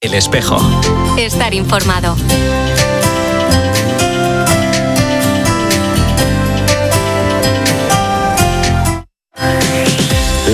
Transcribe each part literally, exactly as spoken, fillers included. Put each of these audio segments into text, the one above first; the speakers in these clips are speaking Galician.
El Espejo. Estar informado.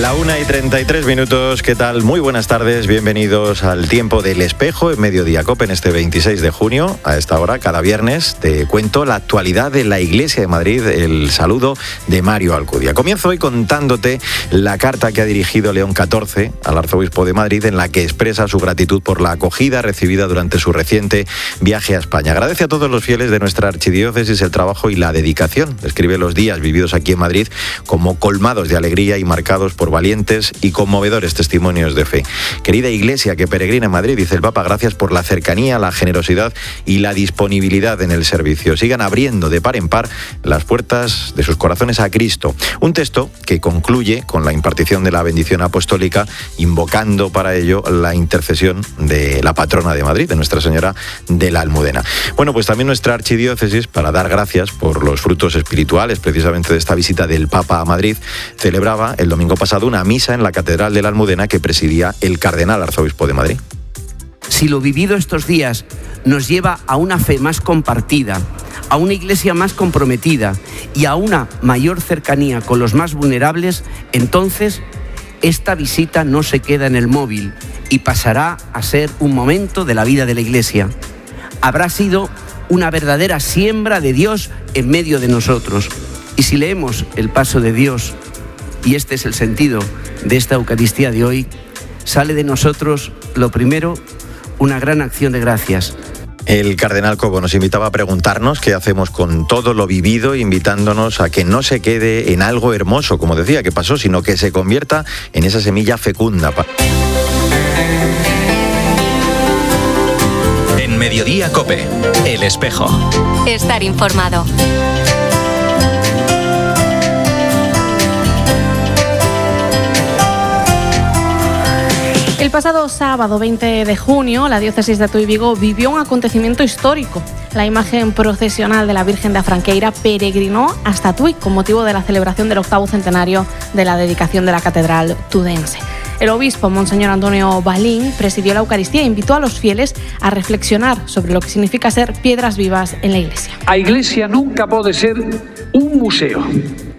La una y treinta y tres minutos, ¿qué tal? Muy buenas tardes, bienvenidos al Tiempo del Espejo en Mediodía Cope en este veintiséis de junio. A esta hora, cada viernes, te cuento la actualidad de la Iglesia de Madrid, el saludo de Mario Alcudia. Comienzo hoy contándote la carta que ha dirigido León catorce al arzobispo de Madrid, en la que expresa su gratitud por la acogida recibida durante su reciente viaje a España. Agradece a todos los fieles de nuestra archidiócesis el trabajo y la dedicación. Describe los días vividos aquí en Madrid como colmados de alegría y marcados por valientes y conmovedores testimonios de fe. Querida Iglesia que peregrina en Madrid, dice el Papa, gracias por la cercanía, la generosidad y la disponibilidad en el servicio. Sigan abriendo de par en par las puertas de sus corazones a Cristo. Un texto que concluye con la impartición de la bendición apostólica, invocando para ello la intercesión de la patrona de Madrid, de Nuestra Señora de la Almudena. Bueno, pues también nuestra archidiócesis, para dar gracias por los frutos espirituales precisamente de esta visita del Papa a Madrid, celebraba el domingo pasado una misa en la Catedral de la Almudena que presidía el cardenal arzobispo de Madrid. Si lo vivido estos días nos lleva a una fe más compartida, a una iglesia más comprometida y a una mayor cercanía con los más vulnerables, entonces esta visita no se queda en el móvil y pasará a ser un momento de la vida de la iglesia. Habrá sido una verdadera siembra de Dios en medio de nosotros. Y si leemos el paso de Dios, y este es el sentido de esta Eucaristía de hoy, sale de nosotros, lo primero, una gran acción de gracias. El cardenal Cobo nos invitaba a preguntarnos qué hacemos con todo lo vivido, invitándonos a que no se quede en algo hermoso, como decía, que pasó, sino que se convierta en esa semilla fecunda. En Mediodía Cope, El Espejo. Estar informado. El pasado sábado veinte de junio, la diócesis de Tui Vigo vivió un acontecimiento histórico. La imagen procesional de la Virgen de Afranqueira peregrinó hasta Tui con motivo de la celebración del octavo centenario de la dedicación de la catedral tudense. El obispo, Monseñor Antonio Balín, presidió la Eucaristía e invitó a los fieles a reflexionar sobre lo que significa ser piedras vivas en la Iglesia. A Iglesia nunca pode ser un museo,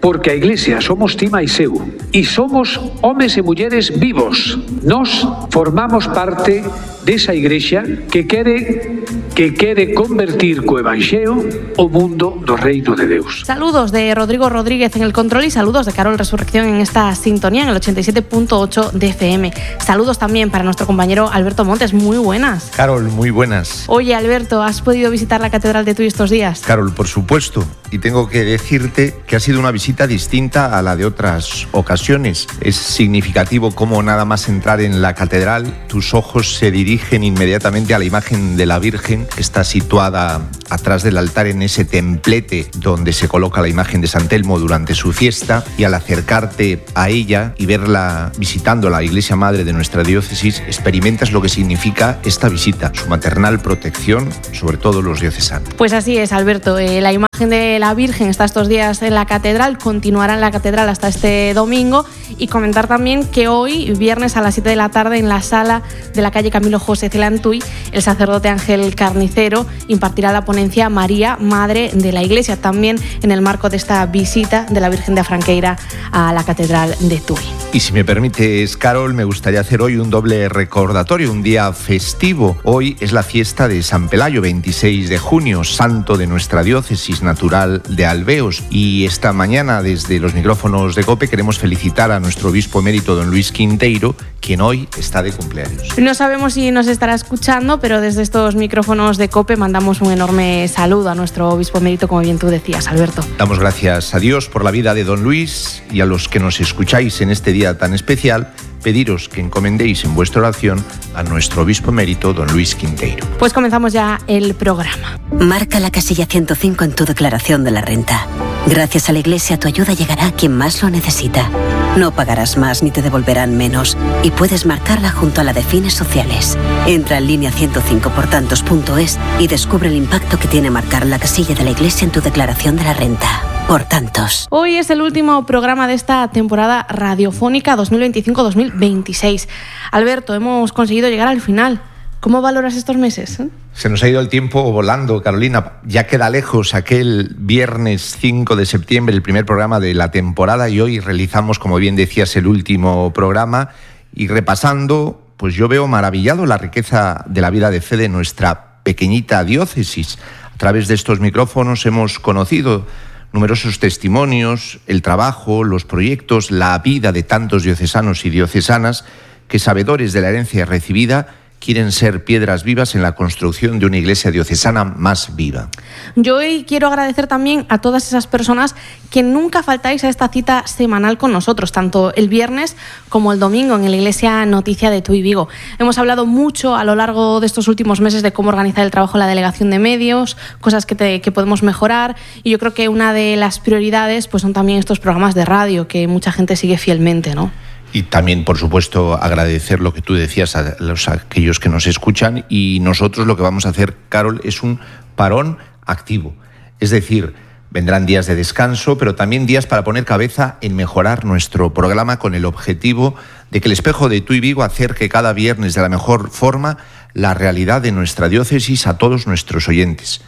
porque a Iglesia somos ti máis eu e somos homes e mulleres vivos. Nós formamos parte desa Iglesia que quere que quere convertir co Evanxeo o mundo do reino de Deus. Saludos de Rodrigo Rodríguez en el control y saludos de Carol Resurrección en esta sintonía en el ochenta y siete punto ocho de F M. Saludos también para nuestro compañero Alberto Montes. Muy buenas. Carol, muy buenas. Oye, Alberto, ¿has podido visitar la Catedral de Tui estos días? Carol, por supuesto. Y tengo que decirte que ha sido una visita distinta a la de otras ocasiones. Es significativo cómo nada más entrar en la catedral, tus ojos se dirigen inmediatamente a la imagen de la Virgen, que está situada atrás del altar en ese templete donde se coloca la imagen de San Telmo durante su fiesta, y al acercarte a ella y verla visitando la iglesia madre de nuestra diócesis, experimentas lo que significa esta visita, su maternal protección sobre todos los diocesanos. Pues así es, Alberto. Eh, la imagen de la Virgen está estos días en la catedral, continuará en la catedral hasta este domingo, y comentar también que hoy, viernes a las siete de la tarde, en la sala de la calle Camilo José Cela en Tui, el sacerdote Ángel Carnicero impartirá la ponencia María, Madre de la Iglesia, también en el marco de esta visita de la Virgen de Afranqueira a la catedral de Tui. Y si me permites, Carol, me gustaría hacer hoy un doble recordatorio, un día festivo. Hoy es la fiesta de San Pelayo, veintiséis de junio, santo de nuestra diócesis natural de Alveos. Y esta mañana, desde los micrófonos de COPE, queremos felicitar a nuestro obispo emérito, don Luis Quinteiro, quien hoy está de cumpleaños. No sabemos si nos estará escuchando, pero desde estos micrófonos de COPE mandamos un enorme saludo a nuestro obispo emérito, como bien tú decías, Alberto. Damos gracias a Dios por la vida de don Luis, y a los que nos escucháis en este día tan especial, pediros que encomendéis en vuestra oración a nuestro obispo emérito, don Luis Quinteiro. Pues comenzamos ya el programa. Marca la casilla ciento cinco en tu declaración de la renta. Gracias a la Iglesia, tu ayuda llegará a quien más lo necesita. No pagarás más ni te devolverán menos, y puedes marcarla junto a la de fines sociales. Entra en línea ciento cinco por tantos punto es y descubre el impacto que tiene marcar la casilla de la Iglesia en tu declaración de la renta. Por tantos. Hoy es el último programa de esta temporada radiofónica dos mil veinticinco dos mil veintiséis. Alberto, hemos conseguido llegar al final. ¿Cómo valoras estos meses? ¿Eh? Se nos ha ido el tiempo volando, Carolina. Ya queda lejos aquel viernes cinco de septiembre, el primer programa de la temporada, y hoy realizamos, como bien decías, el último programa. Y repasando, pues yo veo maravillado la riqueza de la vida de fe de nuestra pequeñita diócesis. A través de estos micrófonos hemos conocido numerosos testimonios, el trabajo, los proyectos, la vida de tantos diocesanos y diocesanas que, sabedores de la herencia recibida, quieren ser piedras vivas en la construcción de una iglesia diocesana más viva. Yo hoy quiero agradecer también a todas esas personas que nunca faltáis a esta cita semanal con nosotros, tanto el viernes como el domingo en la Iglesia Noticia de Tuy Vigo. Hemos hablado mucho a lo largo de estos últimos meses de cómo organizar el trabajo en la delegación de medios, cosas que, te, que podemos mejorar, y yo creo que una de las prioridades pues son también estos programas de radio que mucha gente sigue fielmente, ¿no? Y también, por supuesto, agradecer lo que tú decías a los a aquellos que nos escuchan, y nosotros lo que vamos a hacer, Carol, es un parón activo. Es decir, vendrán días de descanso, pero también días para poner cabeza en mejorar nuestro programa con el objetivo de que el Espejo de Tuy Vigo acerque cada viernes de la mejor forma la realidad de nuestra diócesis a todos nuestros oyentes.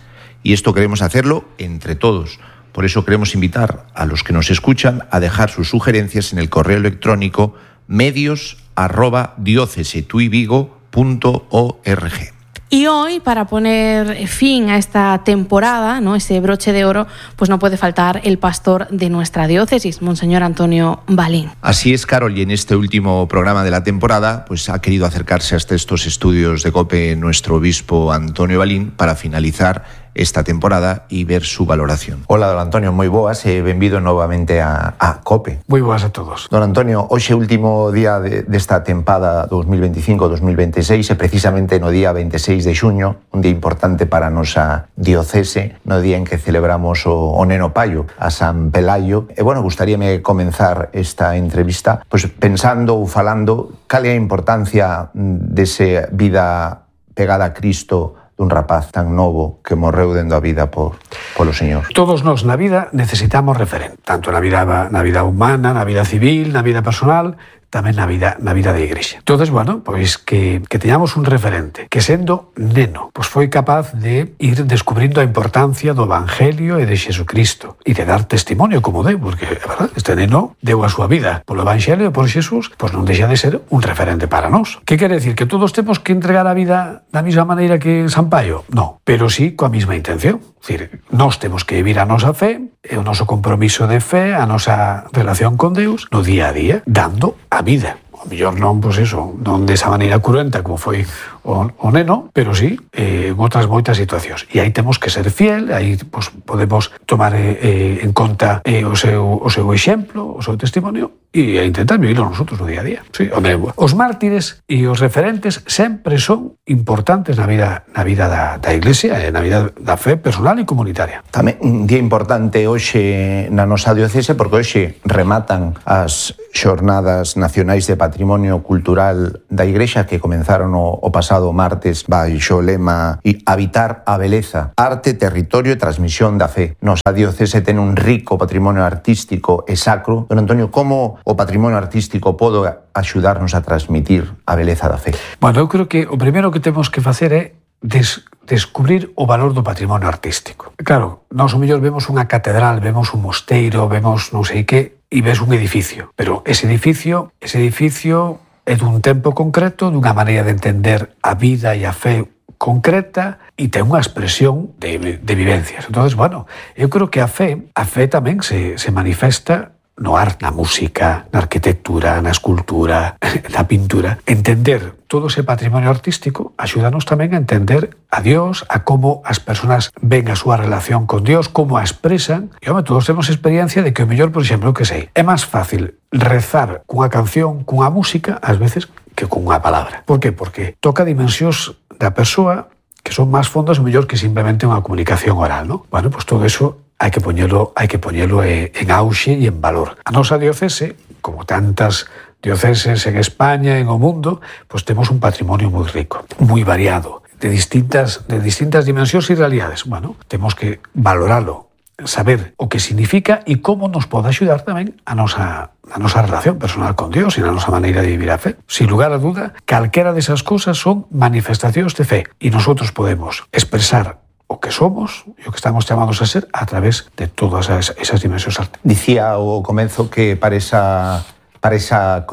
Y esto queremos hacerlo entre todos. Por eso queremos invitar a los que nos escuchan a dejar sus sugerencias en el correo electrónico medios arroba diócesetuyvigo punto org. Y hoy, para poner fin a esta temporada, ¿no?, ese broche de oro, pues no puede faltar el pastor de nuestra diócesis, Monseñor Antonio Balín. Así es, Carol, y en este último programa de la temporada, pues ha querido acercarse hasta estos estudios de COPE nuestro obispo Antonio Balín para finalizar esta temporada y ver su valoración. Hola, don Antonio, moi boas e benvido novamente a, a COPE. Moi boas a todos. Don Antonio, hoxe último día de, desta tempada dos mil veinticinco dos mil veintiséis e precisamente no día veintiséis de xuño, un día importante para a nosa diocese, no día en que celebramos o, o Neno Paio, a San Pelayo. E, bueno, gustaríame comenzar esta entrevista pois pensando ou falando cal é a importancia dese vida pegada a Cristo dun rapaz tan novo que morreu dendo a vida por, polo Señor. Todos nós na vida necesitamos referente, tanto na vida, na vida humana, na vida civil, na vida personal, tamén na vida, na vida da Igrexa. Entonces, bueno, pois que, que teñamos un referente que, sendo neno, pois foi capaz de ir descubrindo a importancia do Evangelio e de Xesucristo e de dar testimonio como deu, porque, é verdad, este neno deu a súa vida polo Evangelio e por Xesús, pois non deixa de ser un referente para nós. Que quere decir? Que todos temos que entregar a vida da mesma maneira que San Paio? No, pero sí coa mesma intención. É dicir, nós temos que vivir a nosa fe, e o noso compromiso de fe, a nosa relación con Deus, no día a día, dando a vida. O mellor non, pois eso, non desa maneira cruenta como foi o, o neno, pero sí eh, en outras moitas situacións. E aí temos que ser fiel, aí pois, podemos tomar eh, en conta eh, o, seu, o seu exemplo, o seu testimonio, e intentar vivirlo nosotros no día a día. Sí, hombre, os mártires e os referentes sempre son importantes na vida, na vida da, da Iglesia e na vida da fe personal e comunitaria. Tamén un día importante hoxe na nosa diocese, porque hoxe rematan as xornadas nacionais de patrimonio cultural da Igrexa que comenzaron o, o pasado martes baixo o lema Habitar a beleza, arte, territorio e transmisión da fe. Nosa diocese ten un rico patrimonio artístico e sacro. Don Antonio, como o patrimonio artístico pode axudarnos a transmitir a beleza da fe? Bueno, eu creo que o primeiro que temos que facer é des descubrir o valor do patrimonio artístico. Claro, nós o mellor vemos unha catedral, vemos un mosteiro, vemos non sei que, e ves un edificio. Pero ese edificio, ese edificio é dun tempo concreto, dunha maneira de entender a vida e a fe concreta, e ten unha expresión de, de vivencias. Entonces, bueno, eu creo que a fe, a fe tamén se, se manifesta no arte, na música, na arquitectura, na escultura, na pintura. Entender todo ese patrimonio artístico axúdanos tamén a entender a Dios, a como as persoas ven a súa relación con Dios, como a expresan. E, home, todos temos experiencia de que o mellor, por exemplo, que sei, é máis fácil rezar cunha canción, cunha música, ás veces, que cunha palabra. Por que? Porque toca dimensións da persoa que son máis fondas o mellor que simplemente unha comunicación oral, ¿no? Bueno, pues todo eso hai que poñelo, hai que poñelo en auxe e en valor. A nosa diocese, como tantas dioceses en España, en o mundo, pues temos un patrimonio moi rico, moi variado, de distintas, de distintas dimensións e realidades. Bueno, temos que valoralo saber o que significa e como nos pode axudar tamén a nosa, a nosa relación personal con Dios e a nosa maneira de vivir a fe. Sin lugar a duda, calquera desas cousas son manifestacións de fe e nosotros podemos expresar o que somos e o que estamos chamados a ser a través de todas esas, esas dimensións artísticas. Dicía ao comezo que para esa para esa,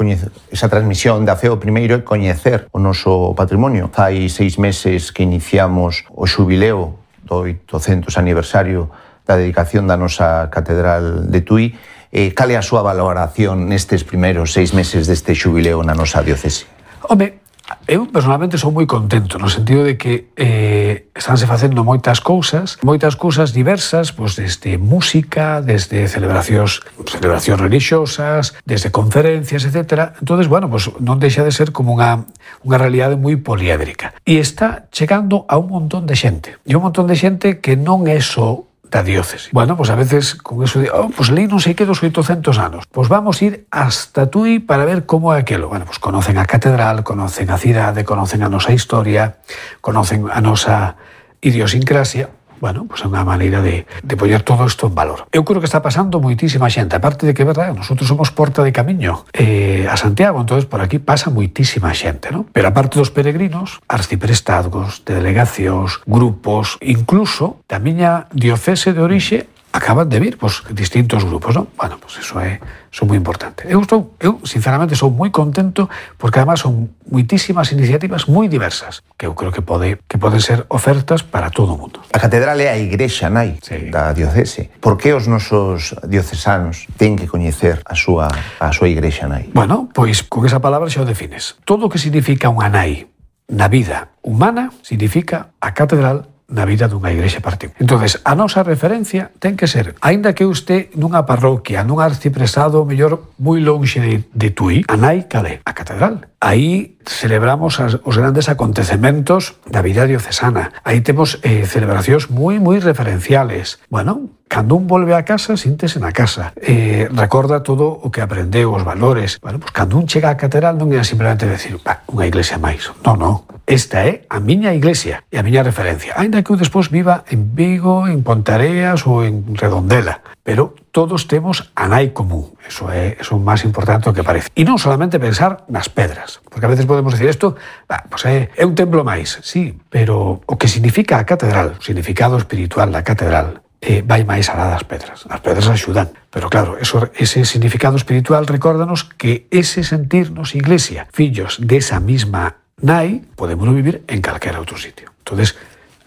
esa transmisión da fe o primeiro é coñecer o noso patrimonio. Fai seis meses que iniciamos o xubileo do oitocentos aniversario da dedicación da nosa Catedral de Tui. Eh, cal é a súa valoración nestes primeiros seis meses deste xubileo na nosa diocese? Home, eu personalmente sou moi contento no sentido de que eh, estánse facendo moitas cousas, moitas cousas diversas, pois desde música, desde celebracións, celebracións religiosas, desde conferencias, etcétera. Entonces, bueno, pues non deixa de ser como unha unha realidade moi poliédrica. E está chegando a un montón de xente. E un montón de xente que non é só da diócese. Bueno, pues a veces con eso de, oh, pues leí non sei que dos oitocentos anos. Pues vamos a ir hasta Tui para ver como é aquelo. Bueno, pues conocen a catedral, conocen a cidade, conocen a nosa historia, conocen a nosa idiosincrasia. Bueno, pues é unha maneira de, de poñer todo isto en valor. Eu creo que está pasando moitísima xente. Aparte de que, verdad, nosotros somos porta de camiño eh, a Santiago, entonces por aquí pasa moitísima xente, ¿no? Pero aparte dos peregrinos, arciprestazgos, de delegacións, grupos, incluso da miña diocese de orixe, acaban de vir, pues, distintos grupos, ¿no? Bueno, pues eso é, son moi importante. Eu, estou, eu, sinceramente, sou moi contento porque, además, son moitísimas iniciativas moi diversas que eu creo que pode que poden ser ofertas para todo o mundo. A catedral é a igrexa nai sí. da diocese. Por que os nosos diocesanos ten que coñecer a súa, a súa igrexa nai? Bueno, pois con esa palabra xa o defines. Todo o que significa unha nai na vida humana significa a catedral na vida dunha igrexa particular. Entonces, a nosa referencia ten que ser, aínda que eu este nunha parroquia, nun arciprestado mellor moi lonxe de, de Tui, a nai calé, a catedral. Aí celebramos as, os grandes acontecementos da vida diocesana. Aí temos eh, celebracións moi, moi referenciales. Bueno, cando un volve a casa, síntese na casa. Eh, recorda todo o que aprendeu, os valores. Bueno, pues cando un chega á catedral non é simplemente decir, bah, unha iglesia máis. Non, non. Esta é a miña iglesia e a miña referencia. Ainda que eu despois viva en Vigo, en Pontareas ou en Redondela. Pero todos temos a nai común. Eso é, eso é o máis importante do que parece. E non solamente pensar nas pedras. Porque a veces podemos decir isto, bah, pues é, é un templo máis. Sí, pero o que significa a catedral, o significado espiritual da catedral, eh, vai máis alá das pedras. As pedras axudan. Pero claro, eso, ese significado espiritual recórdanos que ese sentirnos iglesia, fillos desa misma nai, podemos vivir en calquera outro sitio. Entonces,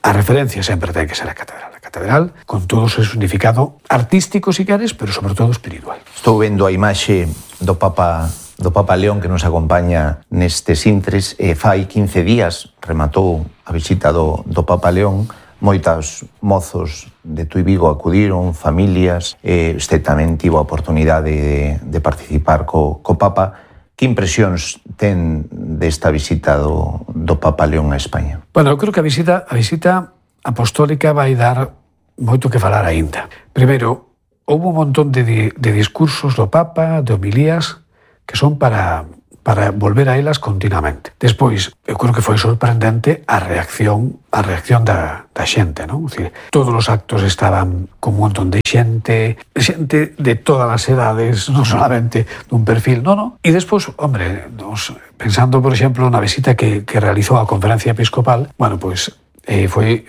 a referencia sempre ten que ser a catedral. A catedral, con todo o seu significado artístico, si queres, pero sobre todo espiritual. Estou vendo a imaxe do Papa do Papa León que nos acompaña nestes intres. E fai quince días rematou a visita do, do Papa León. Moitos mozos de Tui Vigo acudiron, familias. E este tamén tivo a oportunidade de, de participar co, co Papa. Que impresións ten desta visita do, do Papa León a España? Bueno, eu creo que a visita, a visita apostólica vai dar moito que falar aínda. Primeiro, houve un montón de, de discursos do Papa, de homilías, que son para, para volver a elas continuamente. Despois, eu creo que foi sorprendente a reacción a reacción da, da xente, non? Decir, todos os actos estaban con un montón de xente, xente de todas as edades, non solamente dun perfil, non, non. E despois, hombre, nos, pensando, por exemplo, na visita que, que realizou a Conferencia Episcopal, bueno, pois, eh, foi,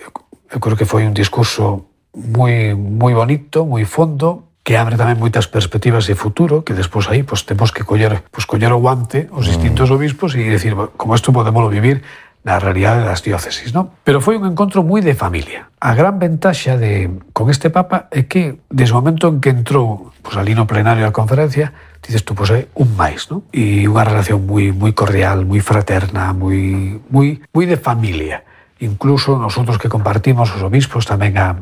eu creo que foi un discurso moi, moi bonito, moi fondo, que abre tamén moitas perspectivas de futuro, que despois aí pues, temos que coller, pues, coller o guante os distintos obispos e dicir, como isto podemos vivir na realidade das diócesis, non? Pero foi un encontro moi de familia. A gran ventaxa de, con este Papa é que, desde o momento en que entrou pues, ali no plenario da conferencia, dices tú, pues é un máis, non? E unha relación moi moi cordial, moi fraterna, moi moi moi de familia. Incluso nosotros que compartimos os obispos tamén a,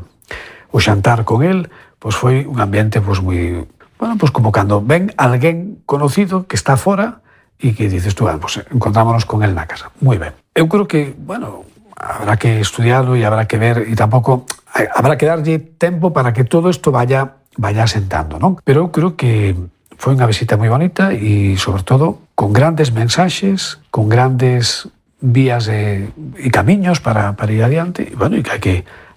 o xantar con el, pues foi un ambiente pues moi, bueno, pues como cando ven alguén conocido que está fora e que dices tú, bueno, pues encontrámonos con él na casa. Moi ben. Eu creo que, bueno, habrá que estudiarlo e habrá que ver, e tampouco habrá que darlle tempo para que todo isto vaya vaya asentando, non? Pero eu creo que foi unha visita moi bonita e, sobre todo, con grandes mensaxes, con grandes vías e, e camiños para, para ir adiante, e, bueno, e que hai que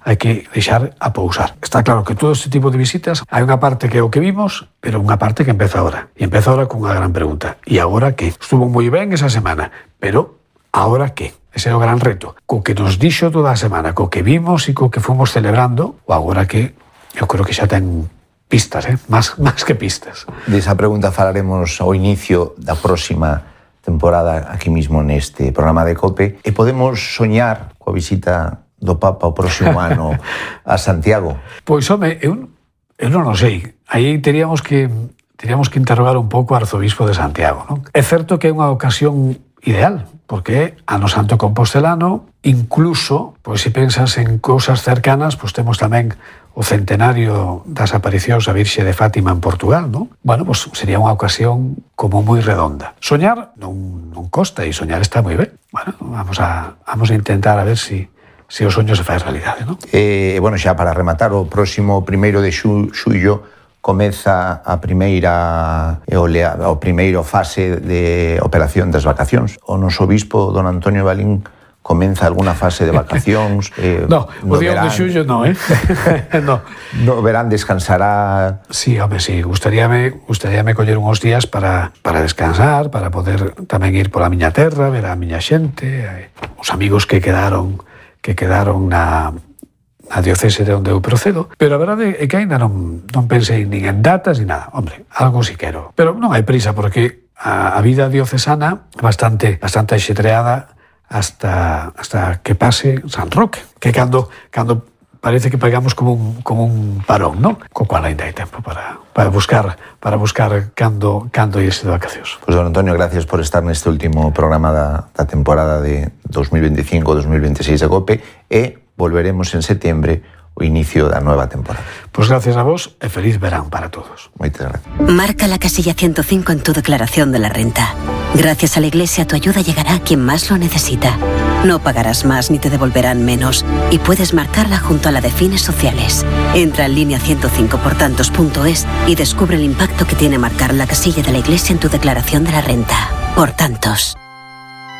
hai que deixar a pousar. Está claro que todo este tipo de visitas hai unha parte que é o que vimos, pero unha parte que empeza ahora. E empeza ahora con unha gran pregunta. E agora que? Estuvo moi ben esa semana, pero agora que? Ese é o gran reto. Co que nos dixo toda a semana, co que vimos e co que fomos celebrando, o agora que? Eu creo que xa ten pistas, eh? Más, más que pistas. Desa pregunta falaremos ao inicio da próxima temporada aquí mismo neste programa de COPE, e podemos soñar coa visita do Papa o próximo ano a Santiago. Pois, home, eu, eu non o sei. Aí teríamos que teríamos que interrogar un pouco ao arzobispo de Santiago, non? É certo que é unha ocasión ideal, porque é ano santo compostelano, incluso, pois se pensas en cousas cercanas, pois temos tamén o centenario das aparicións a Virxe de Fátima en Portugal, non? Bueno, pois sería unha ocasión como moi redonda. Soñar non, non costa, e soñar está moi ben. Bueno, vamos a, vamos a intentar a ver si, si o soño se fai realidade, non? E, bueno, xa para rematar, o próximo primeiro de xu, xullo comeza a primeira olea, o primeiro fase de operación das vacacións. O noso obispo, don Antonio Balín, comeza alguna fase de vacacións. Eh, no, o día de xullo non, eh? no. No verán descansará. Sí, home, sí, gustaríame, gustaríame coller uns días para, para descansar, para poder tamén ir pola miña terra, ver a miña xente, eh, os amigos que quedaron que quedaron na, na diocese de onde eu procedo, pero a verdade é que ainda non, non pensei nin en datas ni nada. Hombre, algo si quero. Pero non hai prisa, porque a, a vida diocesana é bastante, bastante axetreada hasta, hasta que pase San Roque, que cando, cando parece que pegamos como un, como un parón, non? Co cual ainda hai tempo para, para buscar para buscar cando, cando irse de vacacións. Pois, don Antonio, gracias por estar neste último programa da, da temporada de dos mil veinticinco dos mil veintiséis de COPE, e volveremos en setembro o inicio da nueva temporada. Pois gracias a vos e feliz verán para todos. Moitas gracias. Marca la casilla ciento cinco en tu declaración de la renta. Gracias a la Iglesia tu ayuda llegará a quien más lo necesita. No pagarás más ni te devolverán menos, y puedes marcarla junto a la de fines sociales. Entra en línea ciento cinco por tantos punto es y descubre el impacto que tiene marcar la casilla de la Iglesia en tu declaración de la renta. Por tantos.